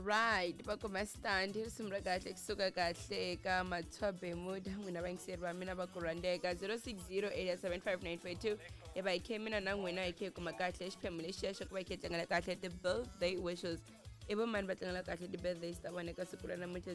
Right, va kuma stand hi risimu ra kahle kusuka kahle eka Matshwa Bermuda. N'wina vayingiseri va mina va ku rhandzeka 0608755942 hi va hi khe mina na n'wina hi khe hi kuma kahle xiphemu lexiya xa ku va hi khe hi tlangela kahle ti-birthday wishes. I vo mani va tlangela kahle ti-birthdays ta vona eka siku ra namuntlha?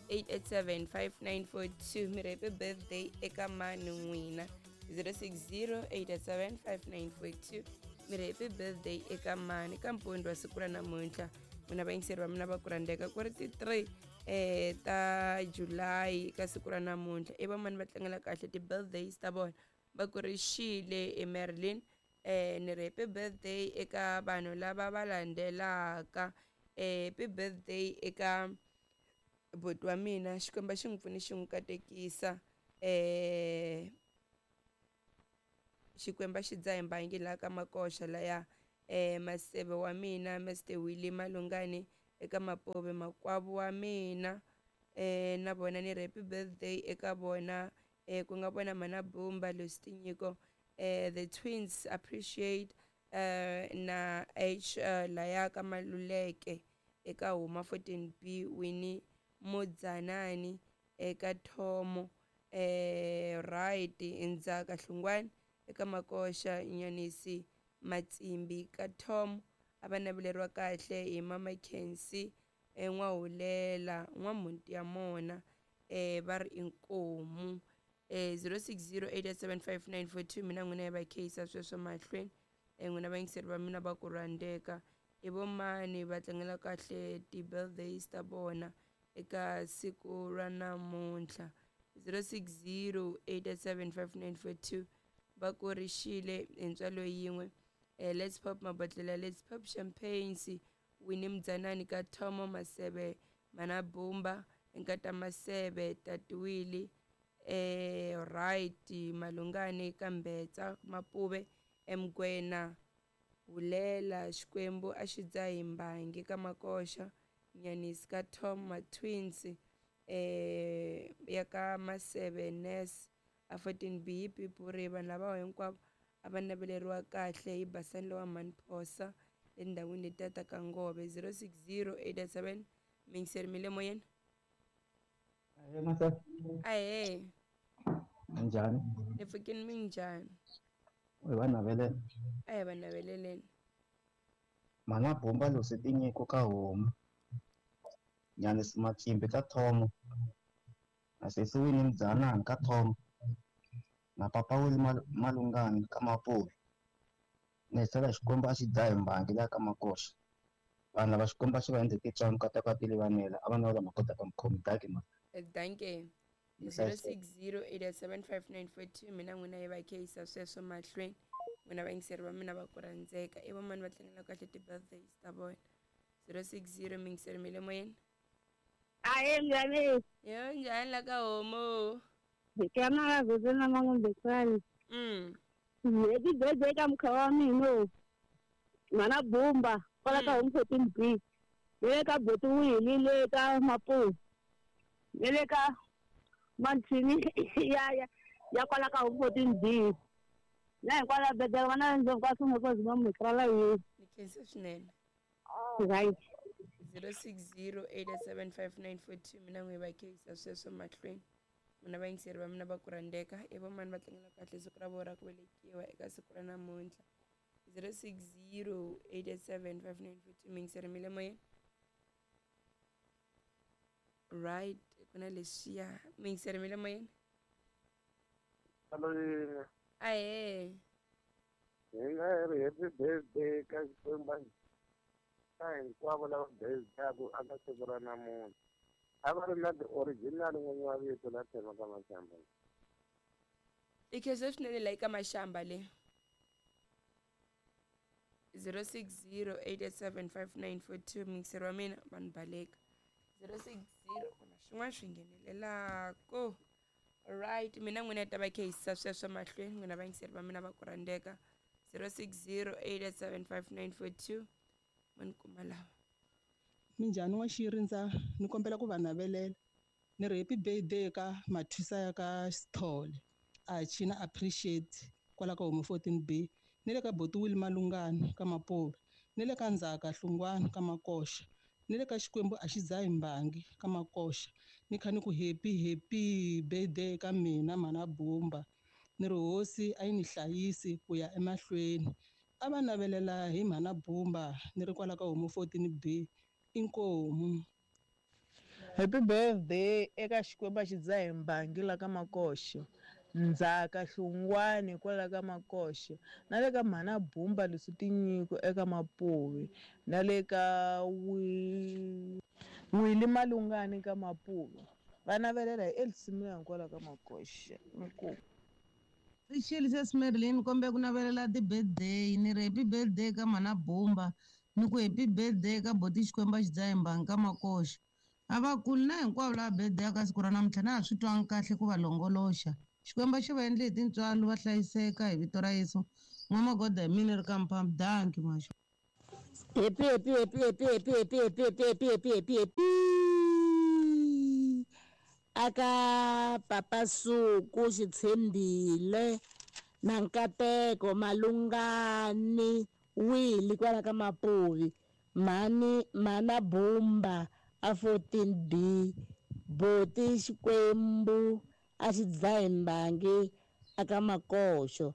0608875942. Mi ri happy birthday eka mani n'wina? 0608875942. Mi ri happy birthday eka mani ka mpundzu wa siku ra namuntlha? N'wina vayingiseri va mina va ku rhandzeka, ku ri ti-3 ta July ka siku ra namuntlha, i vamani va tlangela kahle ti-birthdays ta vona? Va ku ri xile eMerlin. Ni ri happy birthday eka vanhu lava va landzelaka. Happy birthday eka buti wa mina, Xikwembu xi n'wi pfuni xi n'wi katekisa. Xikwembu xi dzaha mbangi laha ka Makoxa laya. Maseve wa mina Mr Willie Malungani eka Mapove, makwavo wa mina na vona ni ri happy birthday eka vona, ku nga vona Mana Bumba, Lucy Tinyiko, the twins appreciate na H laya ka Maluleke eka Huma 14B, Winnie Mudzanani eka Thomo, right, Ndzaka Hlungwani eka Makoxa, Nyanisi Matsimbi ka Tom. A va naveleriwa kahle hi Mama Kensi N'wahulela N'wamhunti ya mona, va ri inkomu. 0608875942. Mina n'wina hi va kheyisa sweswo mahlweni. N'wina vayingiseri va mina va ku rhandzeka, i vo mani va tlangela kahle ti-birthdays ta vona eka siku ra namuntlha? 0608875942. Va ku ri xile hi ntswalo yin'we. Let's pop mabodlela, let's pop champagnes. Winnie Mudzanani ka Thomo, Maseve Mana Bumba Nkata Maseve, Tatiwili right, Malungani ka Mbetsa Mapuve, Mgwena Hulela, Xikwembu a xi dzahi mbangi ka Makoxa, Nyanisi ka Tom, Matwins ya ka Maseve Nurse a 14B hi Pipuri. Vanhu lava hinkwavo a va naveleriwa kahle hi Basani lowa Mhani Phosa endhawini letiya ta ka Ngove. 060887. Mingiseri mi le moyeni. Ahee masa. Ahee. Njhani? Ni pfukini, minjhani? U va navelela. A hi va naveleleni. Mana Bumba, Lucy Tinyiko ka Homu, Nyanisi Matsimbi ka Thomo, na sesi Winnie Mudzanani ka Thomo, na papa Willie Malungani ka Mapuve. Ni hisela Xikwembu a xi dzahi mbangi laha ka Makoxa. Vanhu lava Xikwembu a xi va endle titswalo nkateko a tilivanela, a va na lama kotaka mukhomi daki ma. Danke. 0608875942. Mina n'wina hi va kheyisa sweswo mahlweni. N'wina vayingiseri va mina va ku rhandzeka, i vamani va tlangela kahle ti-birthdays ta vona? 060. Mingiseri mi le moyeni. Ahee njhani? Yo, njhani la ka Homu? Hi ka na na Mangumbisani. Happy birthday ka mukha wa mina. Mana Bumba kwala ka Home 14B. Le ka Boti Willie le ka Mapuve. Le ka Mantshini ya ya kwala ka Home 14B. Na hikwala birthday wa na ndzi ka swin'we ko zima mikrala yi. Ni khensa swinene. Right. 0608875942. Mina n'wi va kheyisa sweswo mahlweni. N'wina vayingiseri va mina va ku rhandzeka, i vo mani va tlangela kahle siku ra vona ra ku velekiwa eka siku ra namuntlha? 0608875942. Mingiseri mi le moyeni. Right, ku na leswiya. Mingiseri mi le moyeni. Hello. Ahee. Hi nga ri happy birthday ka Xikwembu ka hinkwavo lava birthday-aku aka siku ra namuntlha. A va ri na ti-original n'winyi wa vito la tshema ka Mashamba. I khensa swinene la eka Mashamba le. 0608875942. Mingiseri wa mina vanhu baleka. 060 ku na swin'wana swi nghenelelako. Right, mina n'wina hi ta va kheyisa sweswo mahlweni. N'wina vayingiseri va mina va ku rhandzeka, 0608875942. Ma ni kuma lava. Minjhani wa Xirindza? Ni kombela ku va navelela. Ni ri happy birthday ka Mathwisa ya ka Sithole. A China appreciate kwala ka Home 14B. Ni le ka Boti Willie Malungani ka Mapuve. Ni le ka Ndzhaka Hlungwani ka Makoxa, ni le ka Xikwembu a xi dzahi mbangi ka Makoxa. Ni kha ni ku happy happy birthday ka mina mhana Bumba. Ni ri hosi a yi ni hlayisi ku ya emahlweni. A va navelela hi mhana Bumba ni ri kwala ka homu 14B inkomu. Happy birthday eka Xikwembu a xi dzahi mbangi la ka Makoxa, Ndzhaka Hlungwani kwala ka Makoxa, na le ka mhana Bumba leswi tinyiko eka Mapuve, na le ka Wili Malungani ka Mapuve. Va navelela hi Elsimila kwala ka Makoxa. Inkomu. Rixile sesi Marilyn kombe ku navelela ti-birthday ni ri happy birthday ka mhana Bumba ni ku happy birthday ka boti Xikwembu a xi dzahi mbangi ka Makoxa. A va kuli na hinkwavo lava birthday ka siku ra namuntlha na ha swi twangi kahle ku va longoloxa. Xikwembu xi va endle hi tintswalo va hlayiseka hi vito ra Yesu. N'wamagoda hi mina ri ka mphambi danki maxo. Happy happy happy happy happy happy happy happy happy happy happy happy aka Papa Suku Xitshembile na Nkateko Malungani Wili kwala ka Mapuvi, mhani mhana Bumba a 14B, boti Xikwembu a xi dzahi mbangi aka Makoxo,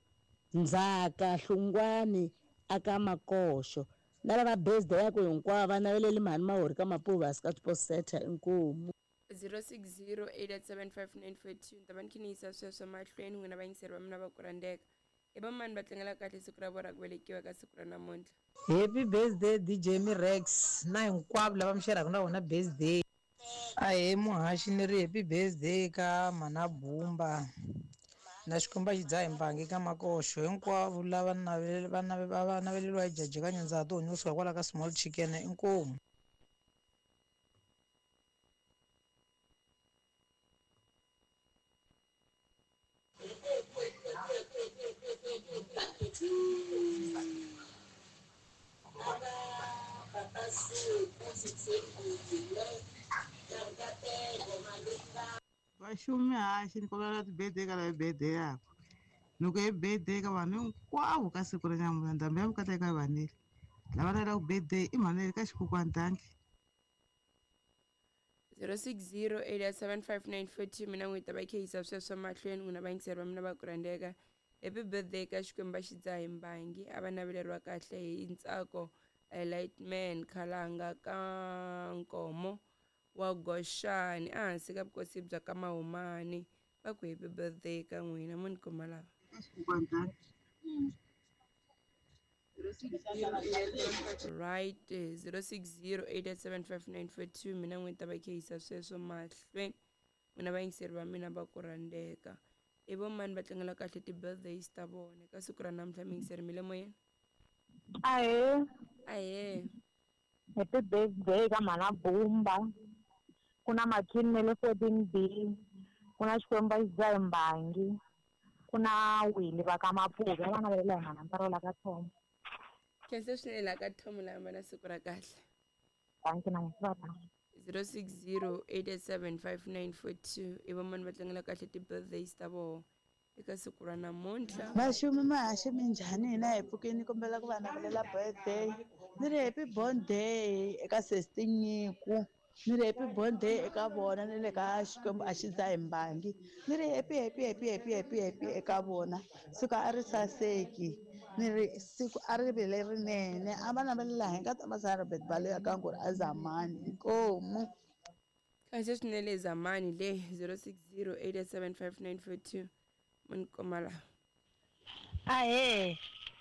Ndzhaka Hlungwani aka Makoxo, na lava birthday ya ku hinkwavo va naveleli mhani Mahori ka Mapuvi a sika Seta inkomu. 0608875942 ni ta va ni kha ni yisa sweswo mahlweni n'wina vayingiseri va mina va ku rhandzeka. I va mani va tlangela kahle siku ra vona ra ku velekiwa ka siku ra namuntlha? Happy birthday DJ Mirex na hinkwavo lava mi xerhaka na vona birthday. Ahee muhaxi ni ri happy birthday ka mhana Bumba na Xikwembu a xi dzahi mbangi ka Makoxo, hinkwavo lava va naveleliwa hi jaji ka Nyanza Tihunyi kusuka kwala ka Small Chicken inkomu. Vaxumi haxi ni kombela ti-birthday ka lava birthday yakwe. Ni ku happy birthday ka vanhu hinkwavo ka siku ra namuntlha ndhambi ya vukati eka vanele. Lava lavaka birthday i mhanele ka xikukwana danki. 0608875942 mina n'wi ta va kha yisa sweswo mahlweni n'wina vayingiseri va mina va ku rhandzeka. Happy birthday ka Xikwembu a xi dzahi mbangi a va naveleriwa kahle hi ntsako Lightman Khalanga ka Nkomo wa Goxani ehansi ka vukosi bya ka Mahumani. Va ku happy birthday ka n'wina mo ni kuma lava. Right 0608875942 mina n'wi ta va kha yisa sweswo mahlweni n'wina vayingiseri va mina va ku rhandzeka. I vo mani va tlangela kahle ti-birthdays ta vona ka siku ra namuntlha miyingiseri mi le moyeni? Ahee. Ahee. Happy birthday ka mhana Bumba. Ku na Makhini na le 14B, ku na Xikwembu a xi dzahi mbangi, ku na Wili va ka Mapuve va navelela hi mhana Mparola ka Thomo. Khensa swinene laha ka Thomo la hambana siku ra kahle. Danki na n'wina va. 0608875942 i va mani va tlangela kahle ti-birthdays ta vona eka siku ra namuntlha? Vaxumi mahaxi minjhani hina hi pfukeni kombela ku va navelela birthday. Ni ri happy birthday eka sesi Nyiko, ni ri happy birthday eka vona ni le ka Xikwembu a xi dzahi mbangi. Ni ri happy happy happy happy happy happy eka vona. Siku a ri saseki, ni ri siku a ri vi lerinene. A va navelela hi nkata Masana Robert Baloyi ka Nguri a Zamani inkomu. Khensa swinene Zamani le 0608875942 mo ni kuma lava. Ahee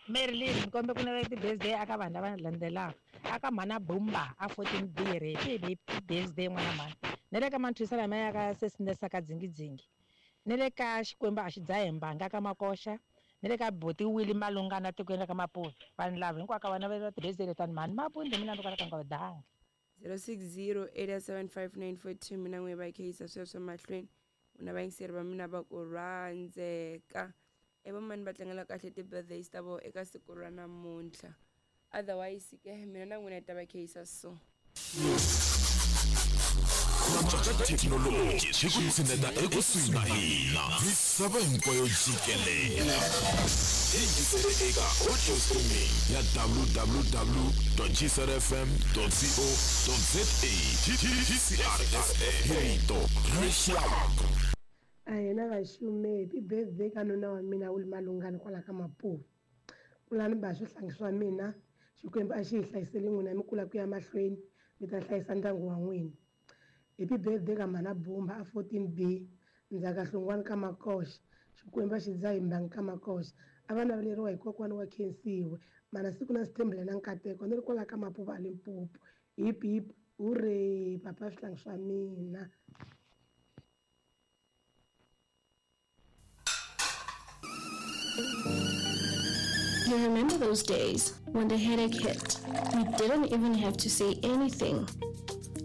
Marilyn ni kombe ku navela ti-birthday aka vanhu lava landzelaka. Aka mhana Bumba a 14B ri happy birthday n'wana mhani. Na le ka Manthwisa lama ya ka Sesinesa ka Dzingidzingi. Na le ka Xikwembu a xi dzahi mbangi ka Makoxa. Na le ka boti Wili Malungana tikweni ra ka Mapuve. Vanhu lava hinkwavo ka va navelela ti-birthday letani mhani Mapuve mina ni kwala ka Ngwadanga. 0608875942 mina n'wi va kha yisa sweswo mahlweni n'wina vayingiseri va mina va ku rhandzeka. I va mani va tlangela kahle ti-birthdays ta vona eka siku ra namuntlha? Otherwise ke mina na n'wina hi ta va kha yisa so. Ku thekinoloji swi ku tshineta ekusuhi na hina misava hinkwayo jikelele. Yingisele eka audio streaming ya www.gcrfm.co.za. GCRFM, hi rito ra rixaka. A hina vaxume happy birthday ka nuna wa mina wu Malungani kwala ka Mapuve. Kulani ba swihlangi swa mina, Xikwembu a xi hi hlayiseli n'wina mi kula ku ya mahlweni, mi ta hlayisa ndyangu wa n'wina. Happy birthday ka Mhana Bumba a 14B, Ndzhaka Hlongwane ka Makoxa, Xikwembu a xi dzahi mbangi ka Makoxa. A va naveleriwa hi kokwana wa Khensiwe, mana siku na Sithembile na Nkateko, ni ri kwala ka Mapuve a Limpopo. Hip hip hooray, papa swihlangi swa mina. You remember those days when the headache hit? You didn't even have to say anything.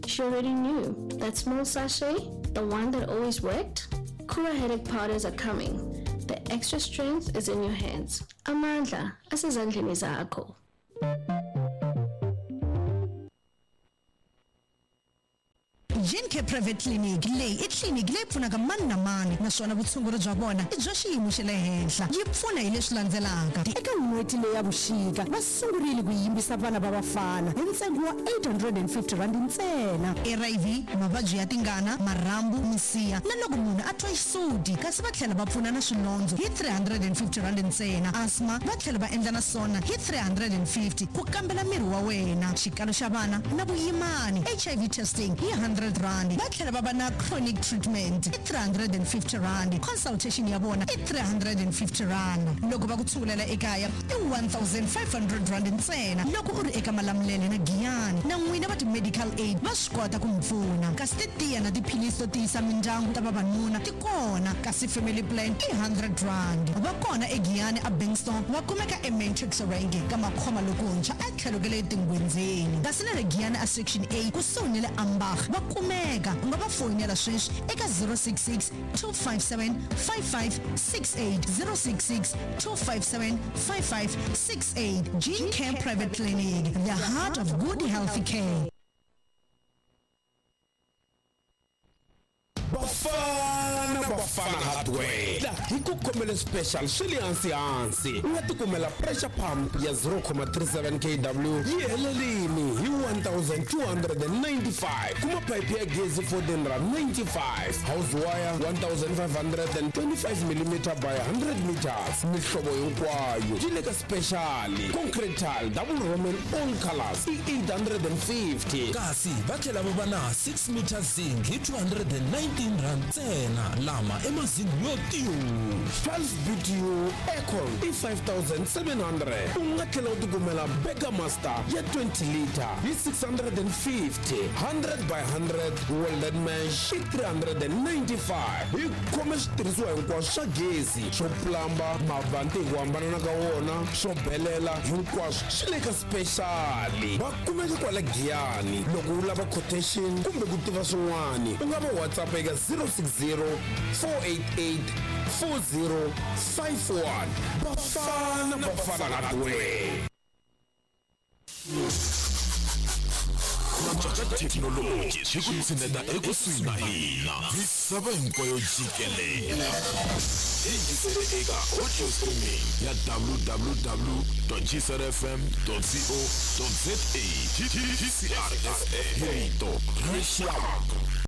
She already knew that small sachet, the one that always worked. Kura headache powders are coming. The extra strength is in your hands. Amandla, asezandleni zakho. Gencare Private Clinic leyi i tliliniki leyi pfunaka mani na mani, naswona vutshunguri bya vona i bya xiyimo xa le henhla. Yi pfuna hi leswi landzelaka. Eka n'hweti leyi ya vuxika va sungurile ku yimbisa vana va vafana hi ntsengo wa R850 ntsena. HIV, mavabyi ya tingana, marhambu, misiha na loko munhu a twa xisuti, kasi va tlhela va pfuna na swilondzo hi R350 ntsena. Asthma va tlhela va endla na swona hi 350 ku kambela miri wa wena, xikalo xa vana na vuyimani, HIV testing hi R100. Va tlhela va va na chronic treatment i R350, consultation ya vona i R350. Loko va ku tshungulela ekaya i R1500 ntsena. Loko u ri eka Malamulele na Giyani, na n'wina va ti-medical aid va swi kota ku mi pfuna. Kasi titiya na tiphilisi to tiyisa mindyangu ta vavanuna ti kona, kasi family plan i R100. Va kona eGiyani a Bankston, va kumeka eMatrix Range ka Makhoma lokuntshwa a tlhelo ka le Tingwenzeni, kasi na le Giyani a Section A kusuhi ni le Ambach va kumeka. U nga va foyinela sweswi eka 066 257 5568, 066 257 5568. Gene Care Private Clinic, the heart of good healthy care. Bafana Bafana Hardware hi ku khomele special swi le hansi hansi. U nga tikumela pressure pump ya 0.37 kW yi helelini hi 1295, kuma pipe ya gezi 1495, house wire 1525 mm by 100 meters, mihlovo hinkwayo yi le ka special. Concrete tile double roman all colors i 850, kasi va tlhela va va na 6 meter zinc hi 219 rand ntsena, lama i mazingi yo tiyu. 12 BTU aircon i 5700. U nga tlhela u tikumela Burger Master ya 20 liter hi 650, 100 by 100 welded mesh i 395. Hi khome switirhisiwa hinkwaswo swa gezi, swo plamba, mavanti hi ku hambanana ka wona, swo belela, hinkwaswo swi le ka special. Va kumeka kwala Giyani. Loko u lava quotation kumbe ku tiva swin'wana, u nga va WhatsApp eka 060 488 4051. Bafana Bafana Hardware. Thekinoloji swi ku tshineta ekusuhi na hina misava hinkwayo jikelele. Yingisele eka audio streaming ya www.gcrfm.co.za. GCRFM, hi rito ra rixaka.